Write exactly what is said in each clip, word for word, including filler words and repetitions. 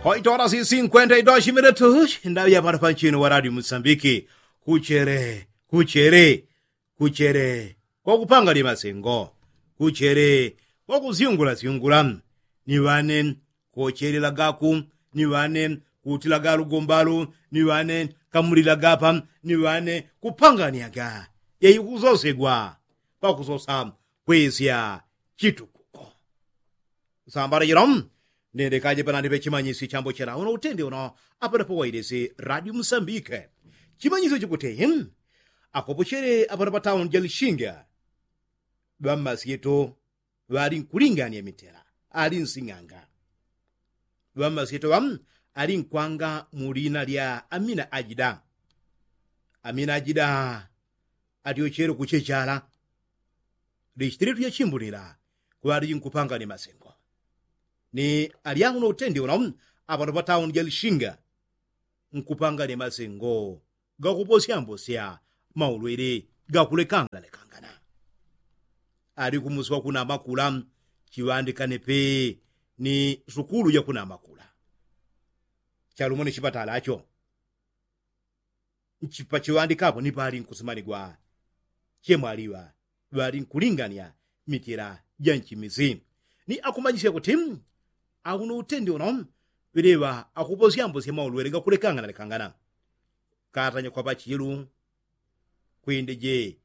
Oitola si sinkwenta itola shimile tushi ndaŵi apano panchino wa radio musambiki. Kuchele kuchele kuchele kwakupanga lye masengo. Kuchele kwakusyungula syungula. Ni ŵane kuchelelagaku. Ni ŵane kutilaga lugombalu. Ni ŵane kamulilagapa. Ni ŵane kupanganyaga. Yaikusosegwa pakusosa kwesya chitukuko. Sambala jila ndendekaje panandipe chimanyisyo chambo chela uno utende uno. Apano pawailesi radio musambike chimanyisyo chikuti akopochele apano patauni jalishinga. Ŵammasyeto ŵalinkulingania mitela ali nsing'anga. Ŵammasyeto ŵa alinkwanga mu lina lya amina ajida. Amina ajida atyochele kuchechala. Lichitile tuyachimbulila kuŵaliji nkupanga ni masengo. Ni alyangu no utende uno apano patauni jalishinga nkupanga ni masengo gakuposyambosya maulwele gakulekangalekangana. Ali kumusi wa kunamakula chiŵandikane pe ni sukulu ja kunamakula. Chalumo ni chipatala cho nchipachiŵandikapo ni palinkusimanigwa. Chemwaliŵa ŵalinkulingania mitila ja nchimisi. Ni akumanyisya kuti auno utende uno ŵeleŵa akuposyambosya maulwele gakulekanganalekangana. Katanya kwa pachilu kwindeje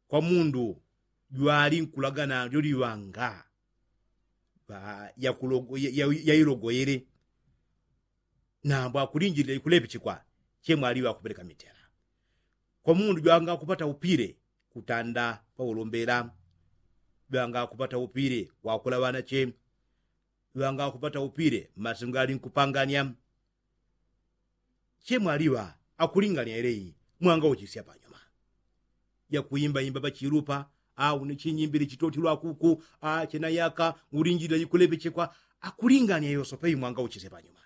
kwa mundu jwalinkulagana lyoliŵanga yailogoyele. Nambo akulinjilila ikulepichikwa chemwaliŵa akupeleka mitela. Kwa mundu jwanga akupata upile kutanda paulombela. Jwanga akupata upile wakula ŵanache. Jwanga akupata upile mmasengo alinkupangania. Chemwaliŵa akulingania yeleyi mwangauchisya panyuma. Jakuimbaimba pachilupa au ni chinyimbili chitotilwa kuku. Chenayaka ulinjilila ikulepechekwa akulingania yosopa imwangauchisya panyuma.